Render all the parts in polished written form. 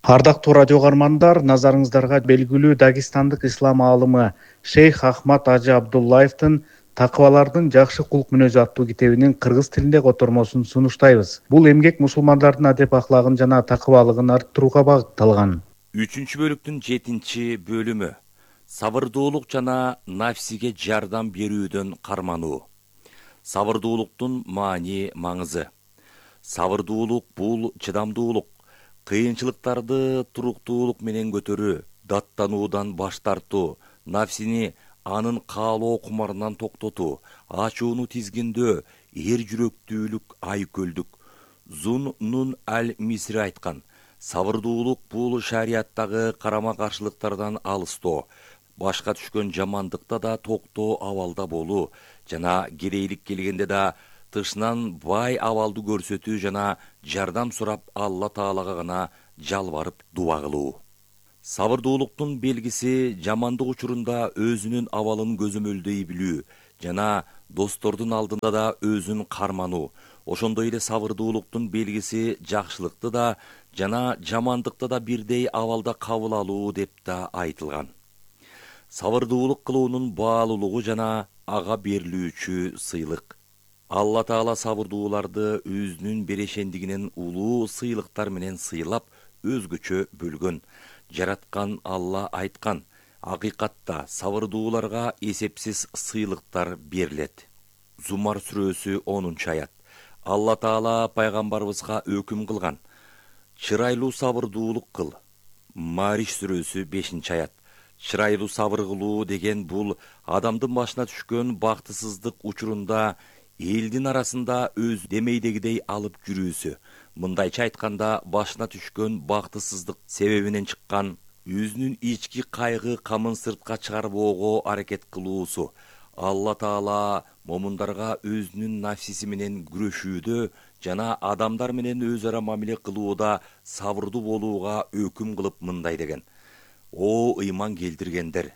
Ардактуу радио каармандар, назарыңыздарга белгилүү Дагестандык ислам аалымы Шейх Ахмад Ажы Абдуллаевдин Такыбалардын жакшы кулк мүнөзү аттуу китебинин кыргыз тилинде котормосун сунуштайбыз. Бул эмгек мусулмандардын адеп аклагын жана такыбалыгын арттырууга багытталган. 3-бөлүктүн 7-бөлүмү сабырдуулук жана нафсиге жардам берүүдөн кармануу. Сабырдуулуктун маани маңызы. Сабырдуулук бул чыдамдуулук, кыйынчылыктарды туруктуулук менен көтөрүү, даттануудан баш тартуу, нафсини анын каалоо кумарынан токтотуу, ачууну тизгиндөө, эр жүрөктүүлүк, айкөлдүк. Зун Нун аль-Мисри айткан: сабырдуулук бул шариаттагы карама каршылыктардан алыстоо, башка түшкөн жамандыкта да токтоо абалда болуу жана керейлик келгенде да тышынан бай абалды көрсөтүү жана жардам сурап Алла Таалага гана жалбарып дуба кылуу. Сабырдуулуктун белгиси жамандык учурунда өзүнүн абалын көзөмөлдөй билүү жана достордун алдында да өзүн кармануу. Ошондой эле сабырдуулуктун белгиси жакшылыкты да жана жамандыкты да бирдей абалда кабыл алуу деп да айтылган. Сабырдуулук кылуунун баалуулугу жана ага берилүүчү сыйлык. Алла Таала сабырдууларды өзүнүн берешендигинен улуу сыйлыктар менен сыйлап, өзгөчө бөлгөн. Жараткан Алла айткан: акыйкатта сабырдууларга эсепсиз сыйлыктар берилет. Зумар сүрөсү 10-аят. Алла Таала пайгамбарыбызга өкүм кылган: чырайлуу сабырдуулук кыл. Мариш сүрөсү 5-аят. Чырайлуу сабыр кылуу деген бул адамдын башына түшкөн бактысыздык учурунда элдин арасында өз демейдегидей алып жүрүүсү. Мындайча айтканда, башына түшкөн бактысыздык себебинен чыккан өзүнүн ички кайгы камын сыртка чыгарбоого аракет кылуусу. Алла Таала момундарга өзүнүн нафсиси менен күрөшүүдө жана адамдар менен өз ара мамиле кылууда сабырдуу болууга өкүм кылып мындай деген: о ыйман келтиргендер,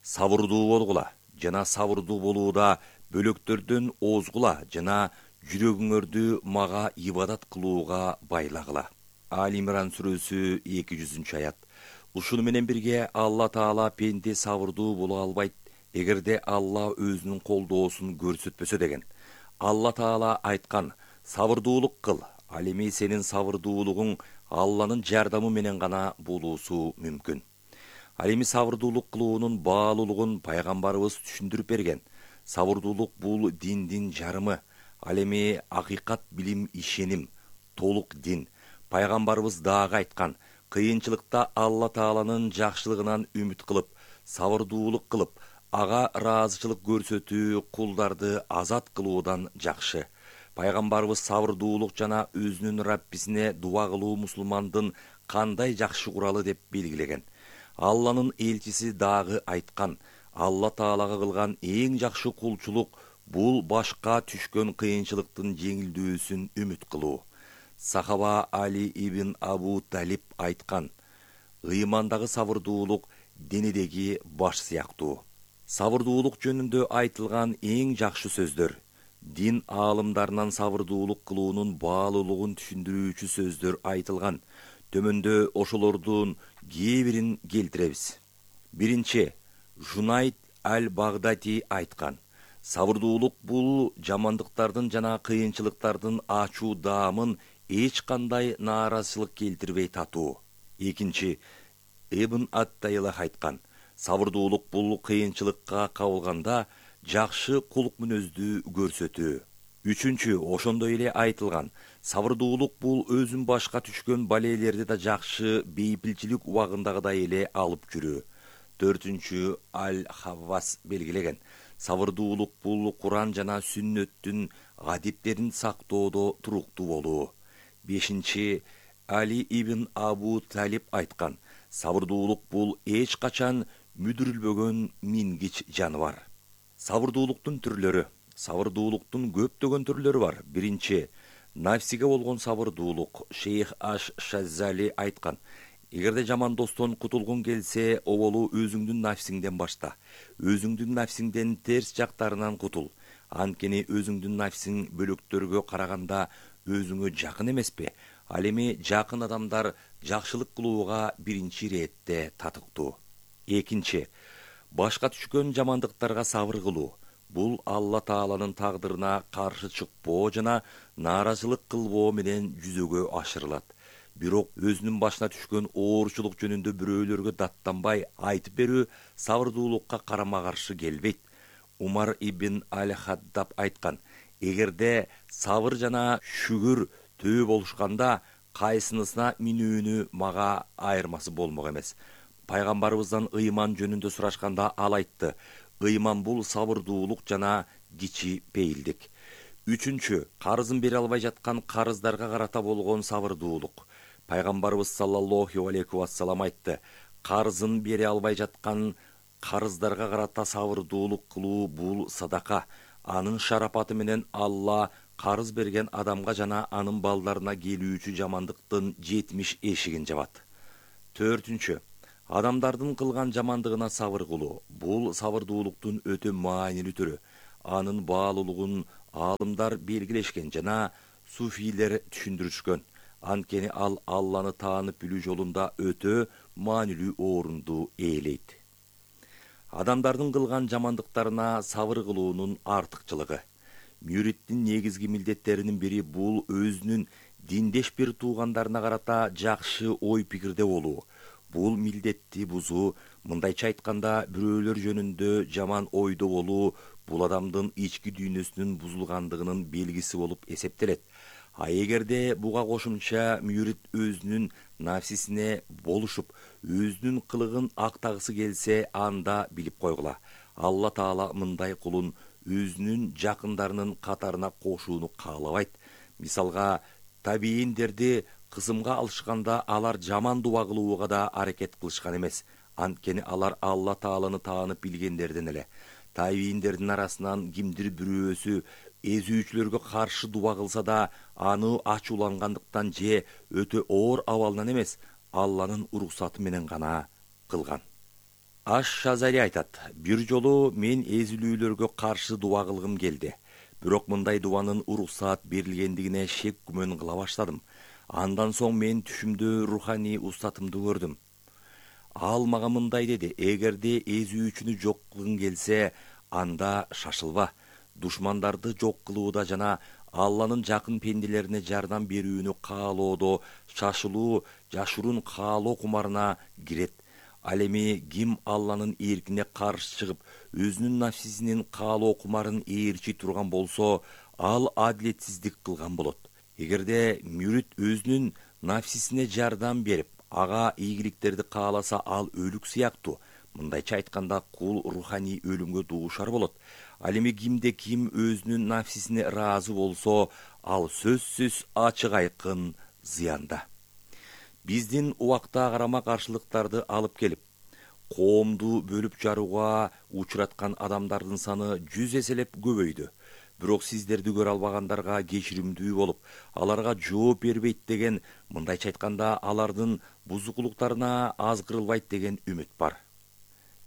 сабырдуу болгула жана сабырдуу болууда бөлөктөрдөн озгула жана жүрөгүңөрдү мага ибадат кылууга байлагыла. Али-Имран сүрөсү 200-аят. Ушуну менен бирге Алла Таала пенде сабырдуу боло албайт эгерде Алла өзүнүн колдоосун көрсөтпөсө деген. Алла Таала айткан: сабырдуулук кыл, ал эми сенин сабырдуулугуң Алланын жардамы менен гана болуусу мүмкүн. Ал эми сабырдуулук кылуунун баалуулугун пайгамбарыбыз түшүндүрүп берген. Сабырдуулук бул диндин жарымы. Ал эми акыйкат билим, ишеним, толук дин. Пайгамбарыбыз дагы айткан: кыйынчылыкта Алла Тааланын жакшылыгынан үмүт кылып, сабырдуулук кылып, ага ыраазычылык көрсөтүү кулдарды азат кылуудан жакшы. Пайгамбарыбыз сабырдуулук жана өзүнүн Раббисине дуба кылуу мусулмандын кандай жакшы куралы деп белгилеген. Алланын элчиси дагы айткан: Алла Таалага кылган эң жакшы кулчулук бул башка түшкөн кыйынчылыктын жеңилдөөсүн үмүт кылуу. Сахаба Али ибн Абу Талиб айткан: ыймандагы сабырдуулук денедеги баш сыяктуу. Сабырдуулук жөнүндө айтылган эң жакшы сөздөр. Дин аалымдарынан сабырдуулук кылуунун баалуулугун түшүндүрүүчү сөздөр айтылган. Төмөндө ошолордун кээ бирин келтиребиз. Биринчи, Жунайд аль-Багдати айткан: сабырдуулук бул жамандыктардын жана кыйынчылыктардын ачуу даамын эч кандай нааразычылык келтирбей татуу. Экинчи, Ибн ат-Тайлах айткан: сабырдуулук бул кыйынчылыкка кабылганда жакшы кулк мүнөздү көрсөтүү. Үчүнчү, ошондой эле айтылган: сабырдуулук бул өзүн башка түшкөн балээлерди да жакшы бейпилчилик убагындагыдай эле алып жүрүү. Төртүнчү, Аль-Хаввас белгилеген: сабырдуулук бул Куран жана сүннөттүн адептерин сактоодо туруктуу болуу. Бешинчи, Али ибн Абу Талиб айткан: сабырдуулук бул эч качан мүдүрүлбөгөн мингич жаныбар. Сабырдуулуктун түрлөрү. Сабырдуулуктун көптөгөн түрлөрү бар. Биринчи, нафсиге болгон сабырдуулук. Шейх аш-Шаззали айткан: эгерде жаман достон кутулгуң келсе, оболу өзүңдүн нафсиңден башта. Өзүңдүн нафсиңден терс жактарынан кутул. Анткени өзүңдүн нафсиң бөлөктөргө караганда өзүңө жакын эмеспи? Ал эми жакын адамдар жакшылык кылууга биринчи иретте татыктуу. Экинчи, башка түшкөн жамандыктарга сабыр кылуу. Бул Алла Тааланын тагдырына каршы чыкпоо жана нааразылык кылбоо менен жүзөгө ашырылат. Бирок өзүнүн башына түшкөн оорчулук жөнүндө бирөөлөргө даттанбай айтып берүү сабырдуулукка карама каршы келбейт. Умар ибн Аль-Хаддаб айткан: эгерде сабыр жана шүгүр төө болушканда, кайсынысына минүүнү мага айырмасы болмок эмес. Пайгамбарыбыздан ыйман жөнүндө сурашканда ал айтты: ыйман бул сабырдуулук жана кичи пейилдик. Үчүнчү, карызын бере албай жаткан карыздарга карата болгон сабырдуулук. Пайгамбарыбыз саллаллаху алейхи вассалам айтты: карызын бере албай жаткан карыздарга карата сабырдуулук кылуу бул садака. Анын шарапаты менен Алла карыз берген адамга жана анын балдарына келүүчү жамандыктын 70 эшигин жабат. Төртүнчү, адамдардын кылган жамандыгына сабыр кылуу. Бул сабырдуулуктун өтө маанилүү түрү. Анын баалуулугун аалымдар белгилешкен жана суфийлер түшүндүрүшкөн. Анткени ал Алланы таанып билүү жолунда өтө маанилүү орунду ээлейт. Адамдардын кылган жамандыктарына сабыр кылуунун артыкчылыгы. Мүриттин негизги милдеттеринин бири бул өзүнүн диндеш бир туугандарына карата жакшы ой пикирде болуу. Бул милдетти бузуу, мындайча айтканда, бирөөлөр жөнүндө жаман ойдо болуу бул адамдын ички дүйнөсүнүн бузулгандыгынын белгиси болуп эсептелет. А эгерде буга кошумча мүрит өзүнүн нафсисине болушуп, өзүнүн кылыгын актагысы келсе, анда билип койгула: Алла Таала мындай кулун өзүнүн жакындарынын катарына кошууну каалабайт. Мисалга, табийиндерди кысымга алышканда алар жаман дуба кылууга да аракет кылышкан эмес. Анткени алар Алла Тааланы таанып билгендерден эле. Табийиндердин арасынан кимдир бирөөсү эзүүчүлөргө каршы дуба кылса да, аны ачуулангандыктан же өтө оор абалынан эмес, Алланын уруксаты менен гана кылган. Аш-Шазари айтат: бир жолу мен эзилүүлөргө каршы дуба кылгым келди. Бирок мындай дубанын уруксат берилгендигине шек күмөн кыла баштадым. Андан соң мен түшүмдө руханий устатымды көрдүм. Ал мага мындай деди: эгерде эзүүчүнү жок кылгың келсе, анда шашылба. Душмандарды жок кылууда жана Алланын жакын пенделерине жардам берүүнү каалоодо шашылуу жашыруун каалоо кумарына кирет. Ал эми ким Алланын эркине каршы чыгып, өзүнүн нафсисинин каалоо кумарын ээрчи турган болсо, ал адилетсиздик кылган болот. Эгерде мүрит өзүнүн нафсисине жардам берип, ага ийгиликтерди кааласа, ал өлүк сыяктуу. Мындайча айтканда, кул руханий өлүмгө дуушар болот. Ал эми кимде ким өзүнүн нафсисине ыраазы болсо, ал сөзсүз ачык айкын зыянда. Биздин убакта карама каршылыктарды алып келип, коомду бөлүп жарууга учураткан адамдардын саны 100 эселеп көбөйдү. Бирок сиздерди көрө албагандарга кечиримдүү болуп, аларга жооп бербейт деген, мындайча айтканда, алардын бузукулуктарына азгырылбайт деген үмүт бар.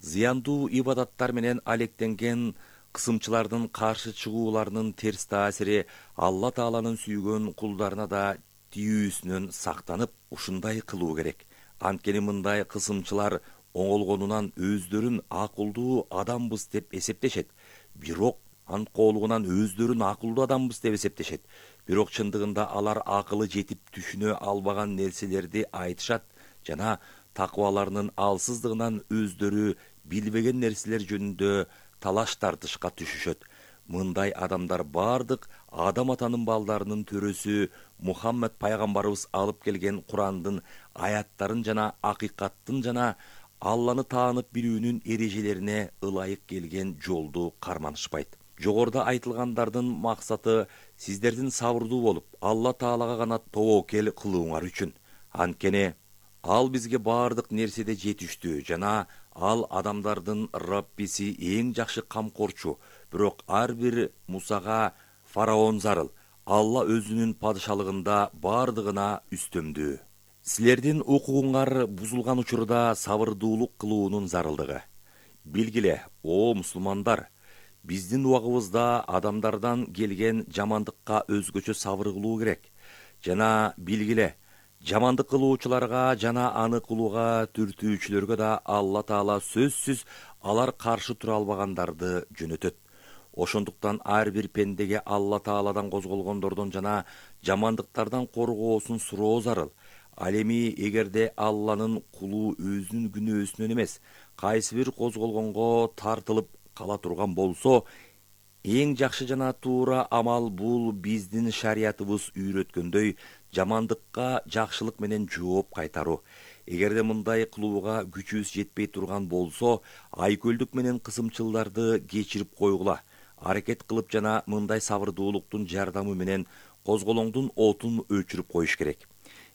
Зыяндуу ибадаттар менен алектенген кысымчылардын каршы чыгууларынын терс таасири Алла Тааланын сүйгөн кулдарына да тийүүсүнөн сактанып, ушундай кылуу керек. Анткени мындай кысымчылар оңолгонунан өздөрүн акылдуу адамбыз деп эсептешет. Бирок анткоолугунан өздөрүн акылдуу адамбыз деп эсептешет. Бирок чындыгында алар акылы жетип түшүнө албаган нерселерди айтышат жана такыбаларынын алсыздыгынан өздөрү билбеген нерселер жөнүндө талаш тартышка түшүшөт. Мындай адамдар бардык Адам атанын балдарынын төрөсү Мухаммед пайгамбарыбыз алып келген Курандын аяттарын жана акыйкаттын жана Алланы таанып билүүнүн эрежелерине ылайык келген жолду карманышпайт. Жогоруда айтылгандардын максаты сиздердин сабырдуу болуп, Алла Таалага гана тобокел кылууңар үчүн. Анткени ал бизге бардык нерседе жетиштүү жана ал адамдардын Раббиси эң жакшы камкорчу. Бирок ар бир Мусага фараон зарыл. Алла өзүнүн падышалыгында бардыгына үстөмдүү. Силердин укугуңар бузулган учурда сабырдуулук кылуунун зарылдыгы. Билгиле, о мусулмандар, биздин убагыбызда адамдардан келген жамандыкка өзгөчө сабыр кылуу керек. жана билгиле, жамандык кылуучуларга жана аны кылууга түртүүчүлөргө да Алла Таала сөзсүз алар каршы тура албагандарды жөнөтөт. Ошондуктан ар бир пендеге Алла Тааладан козголгондордон жана жамандыктардан коргоосун суроо зарыл. Ал эми эгерде Алланын кулу өзүнүн күнөөсүнөн эмес, кайсы бир козголгонго тартылып кала турган болсо, эң жакшы жана туура амал бул биздин шариятыбыз үйрөткөндөй жамандыкка жакшылык менен жооп кайтаруу. Эгерде мындай кылууга күчүбүз жетпей турган болсо, айкөлдүк менен кысымчылдарды кечирип койгула. Аракет кылып жана мындай сабырдуулуктун жардамы менен козголоңдун отун өчүрүп коюш керек.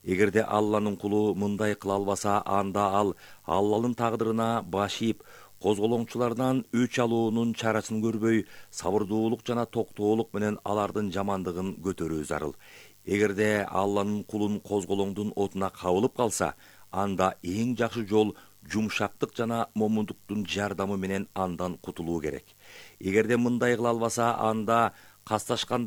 Эгерде Алланын кулу мындай кыла албаса, анда ал Алланын тагдырына баш ийип, козголоңчулардан өч алуунун чарасын көрбөй, сабырдуулук жана токтоолук менен алардын жамандыгын көтөрүү зарыл. Эгерде Алланын кулун козголоңдун отуна кабылып калса, анда эң жакшы жол жумшактык жана момундуктун жардамы менен андан кутулуу керек. Эгерде мындай кыла албаса, анда касташкандар